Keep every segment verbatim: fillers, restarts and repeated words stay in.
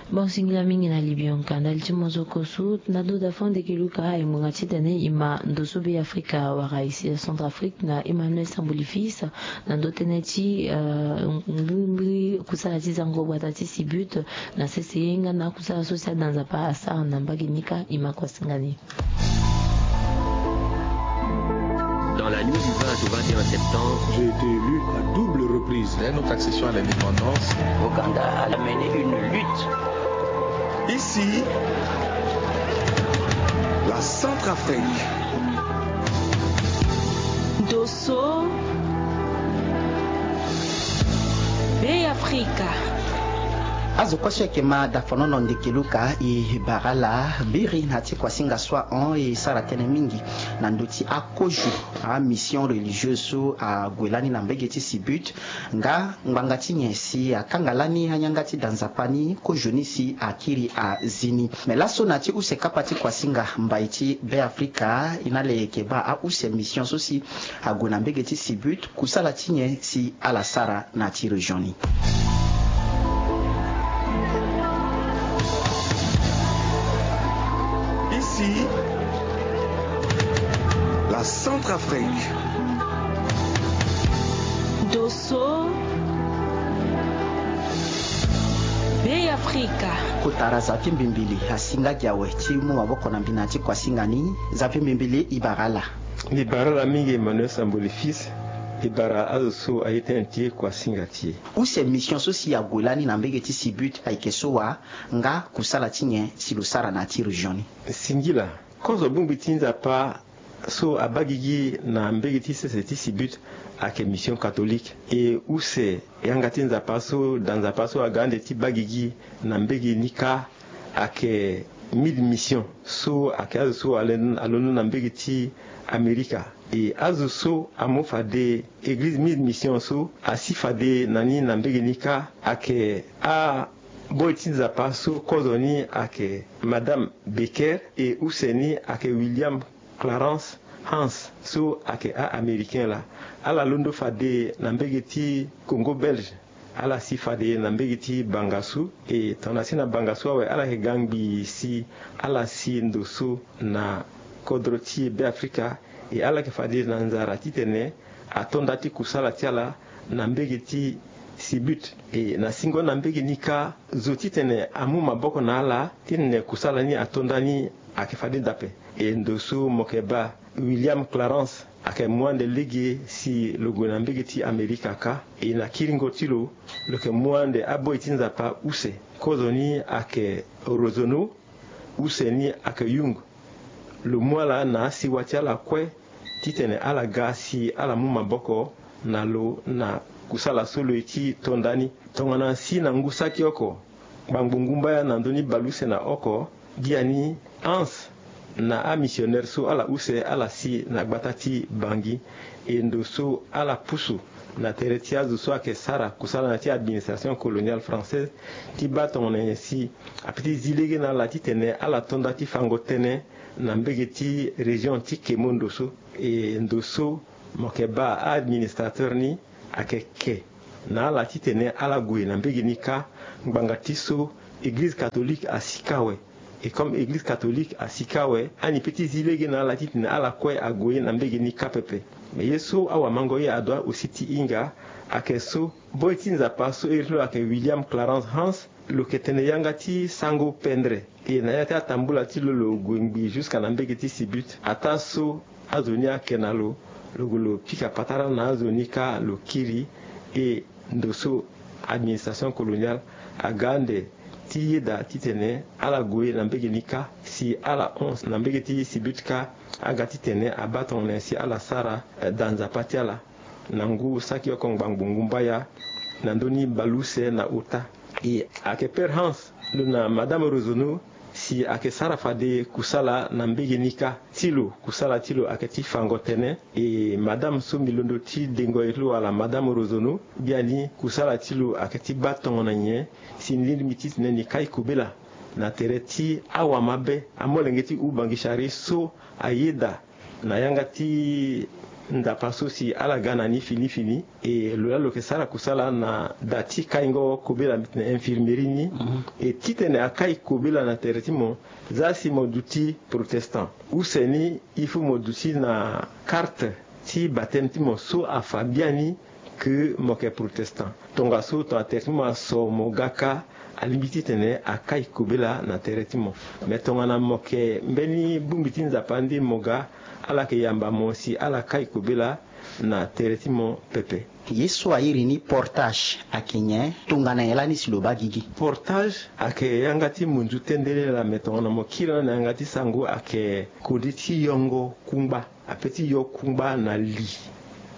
Bon, singila mingi na libionka ndali ti mozoko su na do da fo ndeke luka e ngbanga titene e ma ndo so Be Afrika wara e si Centrafrique na Emmanuel Sambuli Fils na ndo tënë ti, euh, mbrimbri kusala ti zango gbata ti Sibut na sese ye nga na kusala so si ada Nzapa asara na mbage ni kâ. E ma kuasinga ni. Dans la nuit du vingt au vingt et un septembre, j'ai été élu à double reprise. Dès notre accession à l'indépendance, Ouganda a mené une lutte. Ici, la Centrafrique. Dosso, Be Afrika. Azo kue so ayeke ma dafanono ndeke luka e bara ala biri na ya ti kuasinga so ahon e sara tënë mingi na ndö ti akozo, amission religieuse so ague lani na mbege ti Sibut, nga ngbanga ti nyen si akanga lani ayanga ti da Nzapa ni kozo ni si akiri azi ni. Me laso na ya ti use kapa ti kuasinga mbai ti Be Afrika, e na ala yeke baa ause mission so si ague na mbege ti Sibut, kusala ti nyen si ala sara na ya ti région ni. Ici, la Centrafrique. Dosso, Be Afrika. Kotara Zafi Mbimbili asinga gi awe ti mu maboko na mbi na ya ti kuasinga ni. Zafi Mbimbili, e bara ala. Mbi bara ala mingi Emmanuel Samboli Fils. E bara azo so aye tënë ti e kuasinga ti e. Use mission so si ague lani na mbege ti Sibut ayeke so wa, nga kusala ti nyen si lo sara na ya ti région ni? Singila, kozo bongbi ti Nzapa so abaa gigi na mbege ti sese ti Sibut ayeke mission catholique. E use yanga ti Nzapa so, da Nzapa so aga ande ti baa gigi na mbege ni kâ ayeke Mille Missions so ayeke azo so alen-, alondo na mbege ti Amerika. E azo so amu fade Eglize Mille Missions so asi fade na ni na mbege ni kâ ayeke a boi ti Nzapa so kozo ni ayeke Madame Becker, e use ni ayeke William Clarence Hans so ayeke a-Américain laa. Ala londo fade na mbege ti Congo Belge. Ala si fade na mbege ti Bangassou. E tongana si na Bangassou awe, ala yeke ga ngbii si ala si ndo so na kodro ti Be Afrika. E ala yeke fade na nzara titene ato nda ti kusala ti ala na mbege ti Sibut. E na singo na mbege ni kâ, zo titene amu maboko na ala titene kusala ni ato nda ni ayeke fade daa ape. E ndo so mo yeke baa William Clarence ayeke mu ande lege si lo gue na mbege ti Amerika kâ. E na kiringo ti lo, lo yeke mu ande aboi ti Nzapa use. Kozoni ayeke Rosono, use ni ayeke Young. Lo mu ala na asiwa ti ala kue titene ala ga si ala mu maboko na lo na kusala so lo ye ti to nda ni. Tongana si na ngu saki oko, ngbangbo ngu mbaya na ndö ni baleuse na oko, biani Hans na amissionnaire so ala use ala si na gbata ti Bangui. E ndo so ala pusu na tere ti azo so ayeke sara kusala na ya ti administration coloniale française ti baa tongana nyen si ape ti zi lege na ala titene ala to nda ti fango tënë na mbege ti région ti Kemondo so. E ndo so mo yeke baa a-administrateur ni ayeke ke na ala titene ala gue na mbege ni kâ. Ngbanga ti so Eglize catholique asi kâ awe. E comme Eglize catholique asi kâ awe, ani pe ti zi lege na ala titene ala kue ague na mbege ni kâ pepe. Me ye so awamango ye adoit aussi ti hinga ayeke so boi ti Nzapa so iri ti lo ayeke William Clarence Hans, lo yeke tene yanga ti sango pendre. E na ya ti atambula ti lo, lo gue ngbii jusqu'à na mbege ti Sibut. Ataa so azo ni ayeke na lo, lo gue lo pika patara na azo ni kâ lo kiri. E ndo so administration coloniale aga ande ti yeda titene ala gue na mbege ni kâ, si ala hon na mbege ti Sibut kâ, aga titene abaa tongana nyen si ala sara, eh, da Nzapa ti ala. Na ngu saki oko ngbangbo ngu mbaya na ndö ni baleuse na ota. E ayeke Père Hans, lo na Madame Rosono, si ayeke sara fade kusala na mbege ni kâ. Ti lo, kusala ti lo ayeke ti fango tënë. E madame so mbi londo ti dengo ye ti lo wala Madame Rosono, biani kusala ti lo ayeke ti baa tongana nyen si ni lingbi titene ni kai kobela na tere ti awamabe, amolenge ti Oubangui Chari so ayeda na yanga ti Nzapa so si ala ga na ni fini fini. E lo laa lo yeke sara kusala na da ti kaingo kobela, na infirmerie ni. E titene akai kobela na tere ti mo, za si mo duti protestant, use ni il faut mo duti na karte ti bateme ti mo so afa biani ke mo yeke protestant. Tongaso tongana tere ti mo aso, mo ga kâ, alingbi titene akai kobela na tere ti mo. Me tongana mo yeke mbeni bongbi ti Nzapa nde mo ga, ala yeke yamba mo si ala kai kobela na tere ti mo pepe. Ye so a iri ni portage ayeke nyen? Tongana nyen lani si lo baa gigi? Portage ayeke yanga ti munzu tendele laa. Me tongana mo kiri na yanga ti sango, ayeke kode ti yongo kungba. Ape ti yo kungba na li,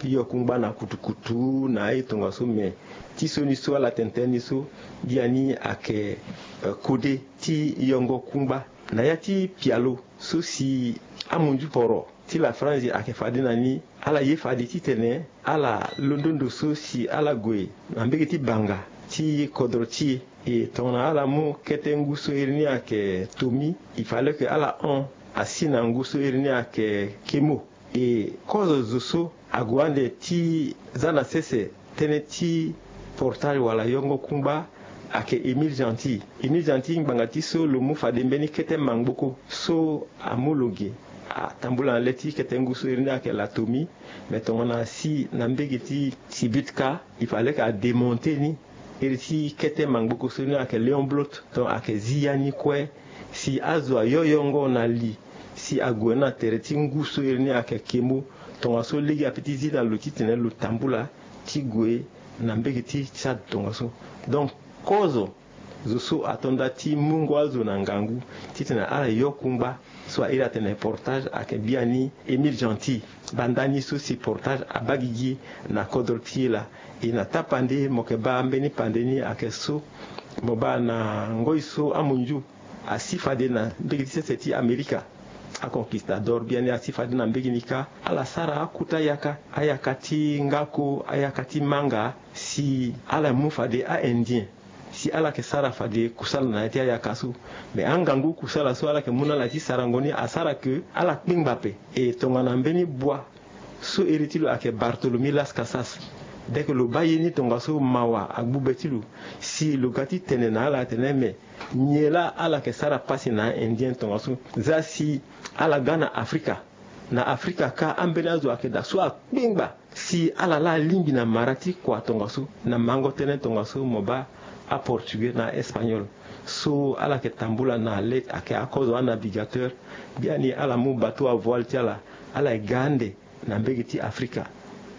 ti yo kungba na kutukutu, na aye tongaso. Me ti sioni so ala tene tënë ni so, biani ayeke, eh, kode ti yongo kungba. Na ya ti pialo so si amunzu poro ti la France ayeke fade na ni, ala ye fade titene ala londo ndo so si ala gue na mbege ti banga ti kodro ti e. E tongana ala mu kete ngu so iri ni ayeke tomi, il fallait que ala hon asi na ngu so iri ni ayeke kemo. E kozo zo so ague ande ti za na sese tënë ti portage wala yongo kungba ayeke Émile Gentil. Émile Gentil, ngbanga ti so lo mu fade mbeni kete mangboko so amu lo ge, atambula na le ti kete ngu so iri ni ayeke la tomi. Me tongana asi na mbege ti Sibutka, il fallait que adémonter ni. Iri ti kete mangboko so ni ayeke Léon Blot, donc ayeke zi ya ni kue. Si azo ayo yongo na li, si ague na tere ti ngu so iri ni ayeke kemo, tongaso lege ape ti zi na lo titene lo tambula ti gue na mbege ti Tchad tongaso. Donc kozo zo so ato nda ti mungo azo na ngangu titene ala yo kungba so a iri atene portage ayeke biani Émile Gentil. Baa ndani so si portage abaa gigi na kodro ti e laa. E na tapande mo yeke baa mbeni pande ni ayeke so mo baa na ngoi so amunzu asi fade na mbege ti sese ti Amerika. Aconquistador biani asi fade na mbege ni kâ, ala sara akota yaka, ayaka ti ngako, ayaka ti manga, si ala mu fade a-Indien si ala yeke sara fade kusala na ya ti ayaka so. Me angangu kusala so ala yeke mu na ala ti sarango ni asara ke ala kpengba ape. E tongana mbeni bua so iri ti lo ayeke Bartholomew Las Casas, dès que lo baa ye ni tongaso mawa agbu be ti lo. Si lo ga ti tene na ala atene me nyen laa ala yeke sara pasi na a-Indien tongaso, za si ala ga na Afrika. Na Afrika kâ ambeni azo ayeke daa so akpengba. Si ala laa alingbi na mara ti kua tongaso, na mango tënë tongaso mo baa aportugais na espagnol. So ala yeke tambula na le ayeke akozo anavigateur. Biani ala mu bateau à voile ti ala, ala ye ga ande na mbege ti Afrika,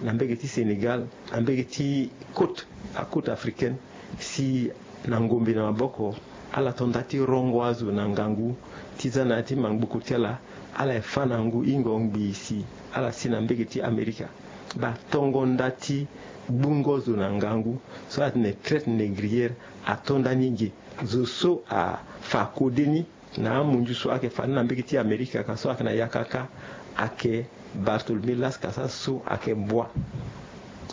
na mbege ti Sénégal, na mbege ti côte, acôte africaine. Si na ngombe na maboko, ala to nda ti rongo azo na ngangu ti za na ya ti mangboko ti ala. Ala ye fâ na ngu hingo ngbii si ala si na mbege ti Amerika. Baa tongo nda ti gbungo zo na ngangu so ala tene traite négrière ato ndani ge. Zo so afa kode ni na amunzu so ayeke fade na mbege ti Amerika ka so ayeke na yaka kâ ayeke Bartholomew Las Casas so ayeke bua.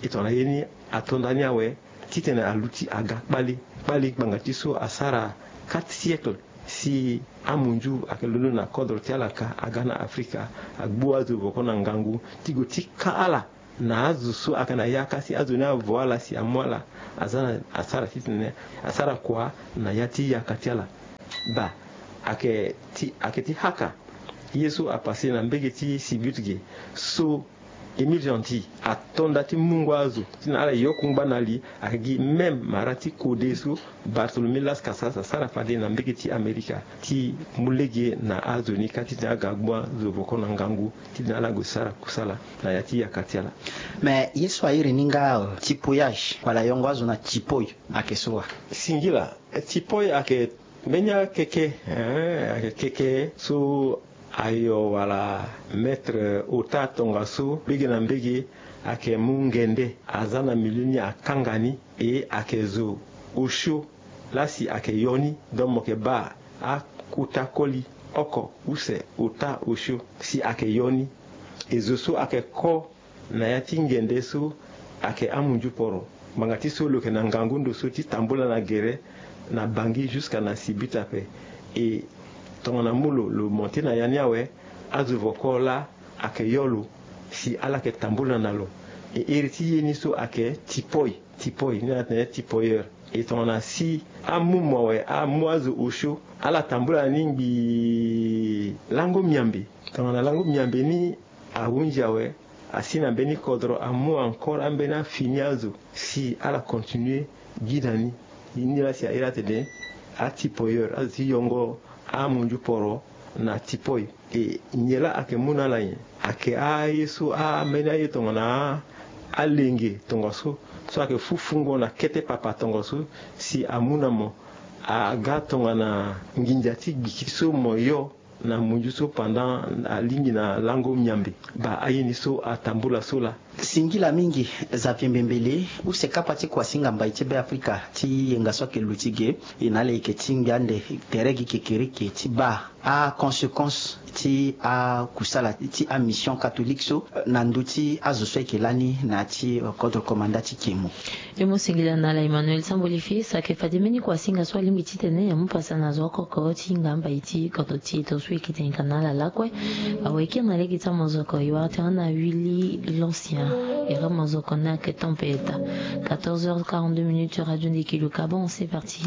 E tongana ye ni ato ndani awe titene aluti aga kpale kpale ngbanga ti so asara quatre siècles. Si amunzu ayeke londo na kodro ti ala ka aga na Afrika, agbu azo voko na ngangu ti gue ti ka ala na azo so ayeke na yaka si azo ni avo ala si amu ala aza na asara titene asara kua na ya ti yaka ti ala. Baa ayeke ti ayeke ti haka ye so apase na mbege ti Sibut ge so Émile Gentil ato nda ti mungo azo titene ala yo kungba na li. Ayeke gi même mara ti kode so Bartholomew Las Casas asara fade na mbege ti Amerika ti mu lege na azo ni ka titene aga agbu azo voko na ngangu titene ala gue sara kusala na ya ti yaka ti ala. Me ye so airi ni nga, euh, tipoyage wala yongo azo na tipoi ayeke so wa? Singila, eh, tipoi ayeke mbeni akeke, eh, ayeke keke so ayo wala mètre ota tongaso mbege na mbege ayeke mu ngende aza na milieu ni akanga ni. E ayeke zo osio laa si ayeke yo ni. Donc mo yeke baa akota koli oko use ota osio si ayeke yo ni. E zo so ayeke ko na ya ti ngende so ayeke amunzu poro. Ngbanga ti so lo yeke na ngangu ndo so ti tambula na gere na Bangui jusqu'à na Sibut ape. E tongana mu lo lo monté na ya ni awe, azo voko laa ayeke yo lo Si ala yeke tambula na lo, e iri ti ye ni so ayeke tipoi, tipoi ni atene tipoyeur. E tongana si amu mo awe, amu azo osio, ala tambula na ni ngbii lango miambe. Tongana lango miambe ni ahunzi awe, asi na mbeni kodro, amu encore ambeni afini azo si ala continue gi na ni. Ni laa si a iri atene atipoyeur, azo ti yongo amunzu poro na tipoi. E nyen laa ayeke mu na ala nyen? Ayeke aye so ambeni aye tongana alenge tongaso, so ayeke fufungo na kete papa tongaso, si amu na mo aga tongana nginza ti gbiki so mo yo na munzu so pendant alingbi na lango miambe. Baa aye ni so atambula so laa. Singila mingi, Xavier Mbembele, use kapa ti kuasinga mbai ti Beafrika ti yenga so ayeke luti ge. E na ala yeke tingbi ande tere gi kekereke ti baa aconséquence ti akusala ti amission catholique so na ndö ti azo so ayeke lani na ya ti kodro komanda ti kemo. E mu singila na ala Emmanuel Samboli Fils, ayeke fade mbeni kuasinga so alingbi titene e mu pasa na zo oko oko ti hinga mbai ti kodro ti e, tongaso e yeke tene ka na ala lakue. Awe, e kiri na lege ti amozoko, e wara tënë na Willy l'Ancien. E ra mozoko ni ayeke tempête. Quatorze heures quarante-deux minutes sur Radio Ndekelu Kabon, c'est parti.